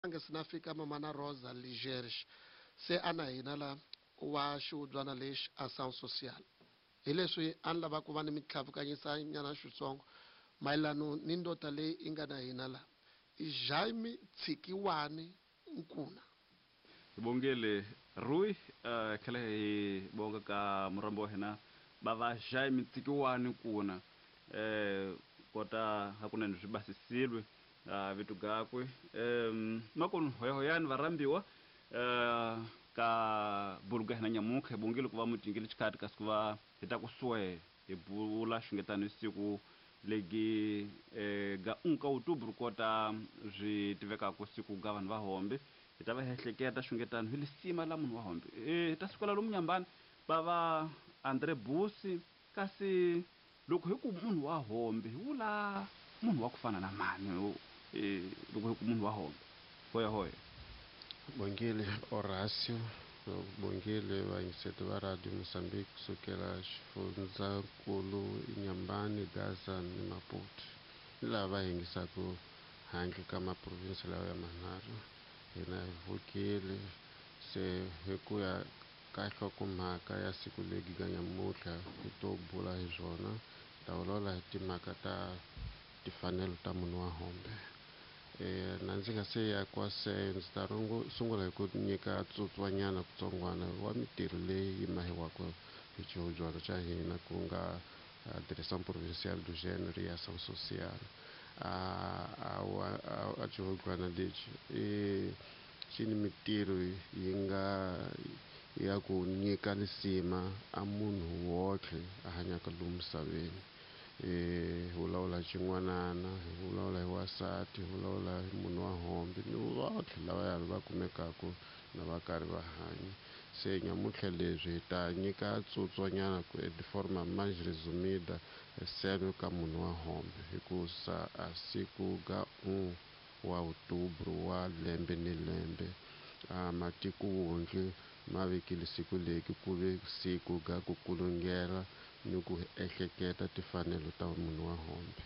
Nge se na fika Mamana Rosa Ligerge se a na hina la wa xihubyana lexi Ação Social. Hi leswi a ni lava ku va ni mi tlhavukanyisa nyana xitsongo mayelano ni ndota leyi i nga na hina la, Jaime Tshikiwani Nkuna. Hi bongile Rui, hi tlhela hi bonga ka murhambi wa hina bava Jaime Tsikiwani Nkuna. Kota hakunene swi basisilwe vito gakwe. Makunu hoyahoyani varhambiwa ka bulu ga hina nyamuntlha, hi bongile ku va mu tingile xikhati kasi ku va hi ta ku swe hi bula xingetano hi siku legi ga unka outubro kota swi tivekaka siku ga vanhu va hombe. Hi ta va hi ehleketa xingetano hi lisima la munhu wa hombe. Hi ta sukela lomu Nyambani va va Andre Busi, kasi loko hi ku munhu wa hombe hi vula munhu wa ku fana na mani? Loko hi ku munhu wa hombe, hoya hoya. Bongile Horacio, bongile vayingiseti va Radio Mozambique kusukela xifundzankulu Inhambane, Gaza ni Maputo, ni lava va yingisaka handle ka maprovinsi lawa ya manharhu. Hina hi vukile se hi ku ya ka nhlokomhaka ya siku legi ga nyamuntlha hi to bula hi swona, hi ta vulavula hi timhaka ta timfanelo ta munhu wa hombe. Na ndzi nga se ya kwaseyo, ndzi ta sungula hi ku nyika tsutswanyana kutsongwana wa mitirho leyi yi mahiwaka hi xihubyana xa hina, ku nga Direção Provincial do Gênero e Ação Social. A xihubyana lexi i xi ni mitirho yi nga ya ku nyika lisima a munhu wotlhe a hanyaka lomu misaveni. Hi vulavula hi xin'wanana, hi vulavula hi wansati, hi vulavula hi munhu wa hombe ni votlhe lavaya va kumekaka na va karhi va hanya. Se nyamuntlha leswi hi ta nyika tsutswanyana ku de forma mais resumida seno ka munhu wa hombe, hikusa a siku ga 1 wa outubro wa lembe ni lembe a matiko wondle ma vekile siku leki ku ve siku ga ku kulungela ni ku ehleketa timfanelo ta munhu wa hombe.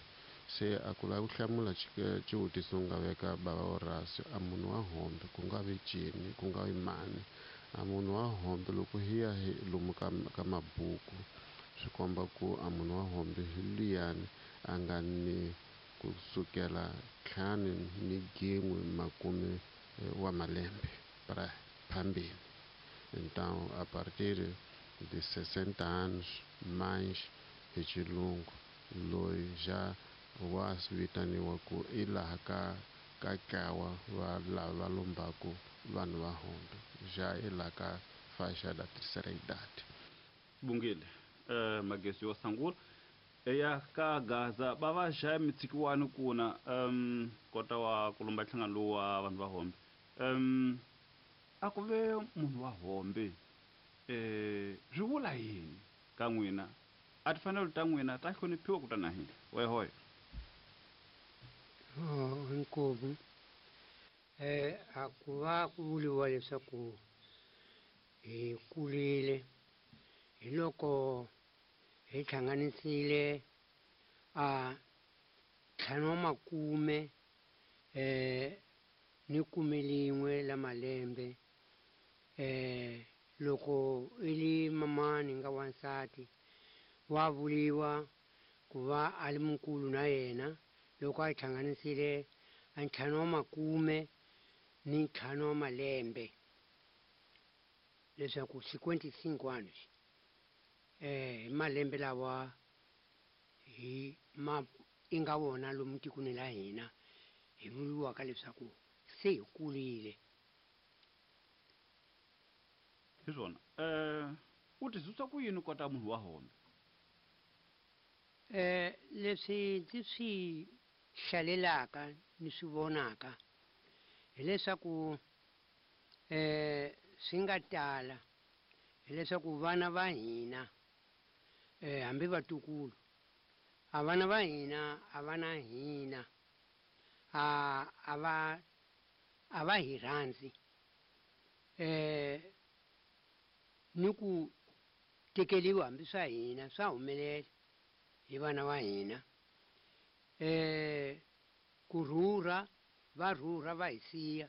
Se a ku lava ku hlamula xivutiso nga veka bava Horacio, a munhu wa hombe ku nga vi cini, ku nga vi mani? A munhu wa hombe loko hi ya hi lomu ka mabuku swi komba ku a munhu wa hombe hi luyani a nga ni kusukela ntlhanu ni gin'we makume wa malembe para phambili. Então, a partir de 60 anos mais hi xilungu, loyi ja wa vitaniwa ku i laha ka ntlawa wa lava va lombaku vanhu va hombe, ja i laha ka faixa da terceira idade. Bungile, magesi yo sungula eya ka Gaza va va Jaime Tsikiwani Nkuna, kota wa ku lomba nhlangano lowu wa vanhu va hombe. A ku ve munhu wa hombe, swi vula yini ka n'wina? A timfanelo ta n'wina ta hloniphiwa ku ta na hina? Wehoyo. Oh, inkomu. A ku va ku vuriwa leswaku hi kurile hi loko hi hlanganisile a ntlhanu wa makume ni kume lin'we la malembe. Loko i li mamani nga wansati wa vuriwa ku va a li mukulu na yena loko a hlanganisile a ntlhanu wa makume ni ntlhanu wa malembe, leswaku 55 anos hi malembe lawa hi ma i nga wona lomu tikweni la hina hi vuriwaka leswaku se hi kurile. Hi swona. U tizwisa ku yini kota munhu wa hombe? Leswi ndzi swi hlalelaka ni swi vonaka hileswaku swi nga tala hileswaku vana va hina hambi vatukulu a vana va hina a va na hina a va hi rhandzi ni ku tekeriwa hambi swa hina swa humelela hi vana va hina. Ku rhurha va rhurha va hi siya.